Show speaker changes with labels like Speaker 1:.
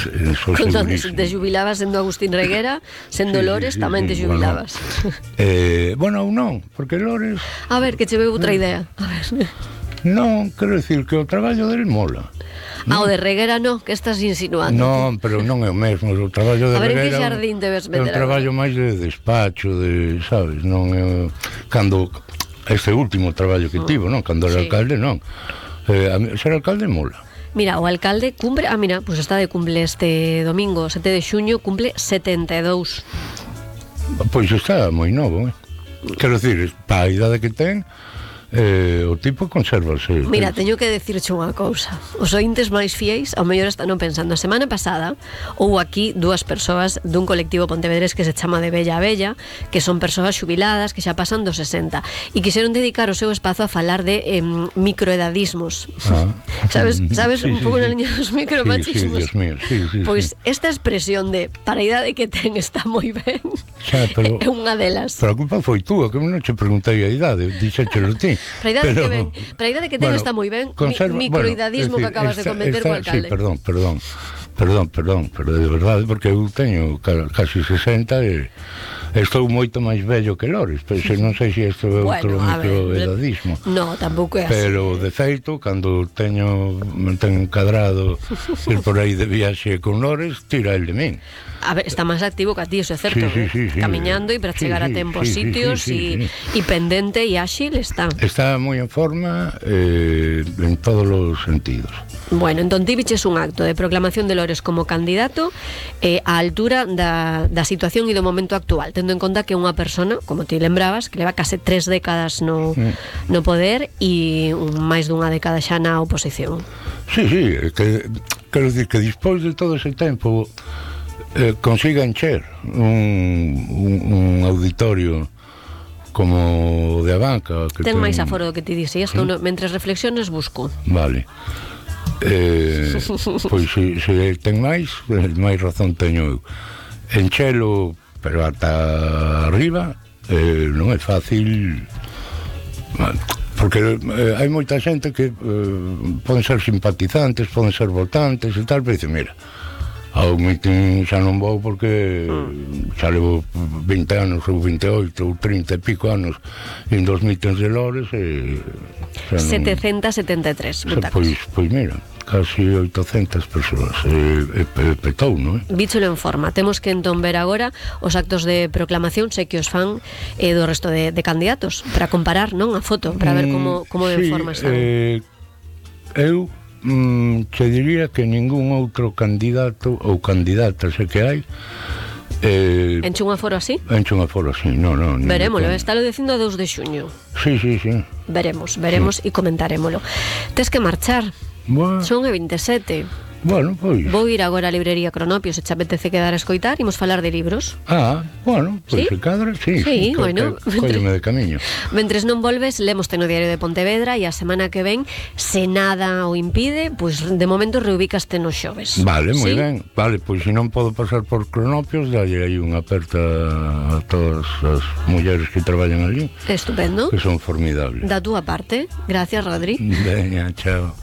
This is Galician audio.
Speaker 1: Cando
Speaker 2: segurísimo.
Speaker 1: te xubilabas sendo Agustín Reguera, sendo Lores, tamén te xubilabas.
Speaker 2: Bueno, ou non, porque Lores...
Speaker 1: A ver, que che veo outra idea. A ver.
Speaker 2: Non, quero dicir que o traballo del mola.
Speaker 1: O de Reguera non, que estás insinuando?
Speaker 2: Non, pero non é o mesmo. O traballo de
Speaker 1: A ver, en que
Speaker 2: Reguera
Speaker 1: xardín te ves
Speaker 2: é un
Speaker 1: meter
Speaker 2: traballo
Speaker 1: agora?
Speaker 2: máis de despacho, de, sabes, non é cando este último traballo que tivo, non, cando era
Speaker 1: Sí.
Speaker 2: alcalde, non. Ser alcalde mola.
Speaker 1: Mira, o alcalde cumple, mira, pues está de cumple este domingo, 7 de xuño, cumple 72.
Speaker 2: Pois está moi novo, Quero dicir, para a idade que ten, o tipo consérvase.
Speaker 1: Mira, teño que decirche unha cousa. Os ointes máis fiéis ao mellor están pensando. A semana pasada houve aquí dúas persoas dun colectivo pontevedrés que se chama de Bella a Bella, que son persoas xubiladas que xa pasan dos 60 e quixeron dedicar o seu espazo a falar de microedadismos. Sabes
Speaker 2: Sí,
Speaker 1: un pouco na liña dos micromachismos?
Speaker 2: Sí, Dios mío, sí.
Speaker 1: Pois esta expresión de para a idade que ten está moi ben.
Speaker 2: Xa, pero,
Speaker 1: é unha delas.
Speaker 2: Pero a culpa foi túa, que non che preguntei a idade, dixéchelo ti.
Speaker 1: Para a idade que ten está moi ben. Microidadismo que acabas de cometer co alcalde.
Speaker 2: Sí, perdón, pero de verdade, porque eu teño casi 60 e estou moito máis vello que Lores, pero non sei se isto é outro microedadismo.
Speaker 1: No, tampouco é así.
Speaker 2: Pero de feito, cando me ten encadrado ir por aí de viaxe con Lores, tira el de min.
Speaker 1: A ver, está máis activo que a ti, eso é certo.
Speaker 2: Sí.
Speaker 1: Camiñando e para chegar a tempo aos sitios e pendente e áxil está.
Speaker 2: Está moi en forma en todos os sentidos.
Speaker 1: Bueno, entón ti viches un acto de proclamación de Lores como candidato á altura da situación e do momento actual, tendo en conta que é unha persona, como ti lembrabas, que leva case 3 décadas no poder e máis dunha década xa na oposición.
Speaker 2: Sí, quero dicir que despois de todo ese tempo consiga encher un auditorio como de Abanca que
Speaker 1: ten máis aforo do que ti dixías, que mentres reflexiones busco.
Speaker 2: Vale. Pois se ten máis razón teño eu. Enchelo, pero ata arriba non é fácil, porque hai moita xente que poden ser simpatizantes, poden ser votantes e tal, pero dicen, mira, ao mitin xa non vou porque xa levo 20 anos ou 28 ou 30 e pico anos indo aos mitins de Lores e
Speaker 1: 773 butacas.
Speaker 2: Pois mira, casi 800 persoas petou, non é?
Speaker 1: Vícholo en forma. Temos que entón ver agora os actos de proclamación, sei que os fan do resto de candidatos, para comparar, non, a foto, para ver como de forma están.
Speaker 2: Eu che diría que ningún outro candidato ou candidata sei que hai
Speaker 1: enche un aforo así?
Speaker 2: Enche un aforo así, non.
Speaker 1: Verémolo, está lo dicindo a 2 de xuño.
Speaker 2: Sí.
Speaker 1: Veremos e comentarémolo. Tes que marchar.
Speaker 2: Bueno.
Speaker 1: Son e 27.
Speaker 2: Bueno, pois.
Speaker 1: Vou ir agora á librería Cronopio, se te apetece quedar a escoitar, imos falar de libros.
Speaker 2: Bueno, pois
Speaker 1: ¿Sí?
Speaker 2: se cadra, sí,
Speaker 1: bueno.
Speaker 2: Cólleme de camiño.
Speaker 1: Mentres non volves, lemos no Diario de Pontevedra e a semana que ven, se nada o impide, pois de momento reubicaste nos xoves.
Speaker 2: Vale, moi
Speaker 1: ¿Sí?
Speaker 2: ben. Vale, pois se non podo pasar por Cronopios, dalle aí unha aperta a todas as mulleres que traballan ali.
Speaker 1: Estupendo.
Speaker 2: Que son formidables.
Speaker 1: Da túa parte. Gracias, Rodri.
Speaker 2: Veña, chao.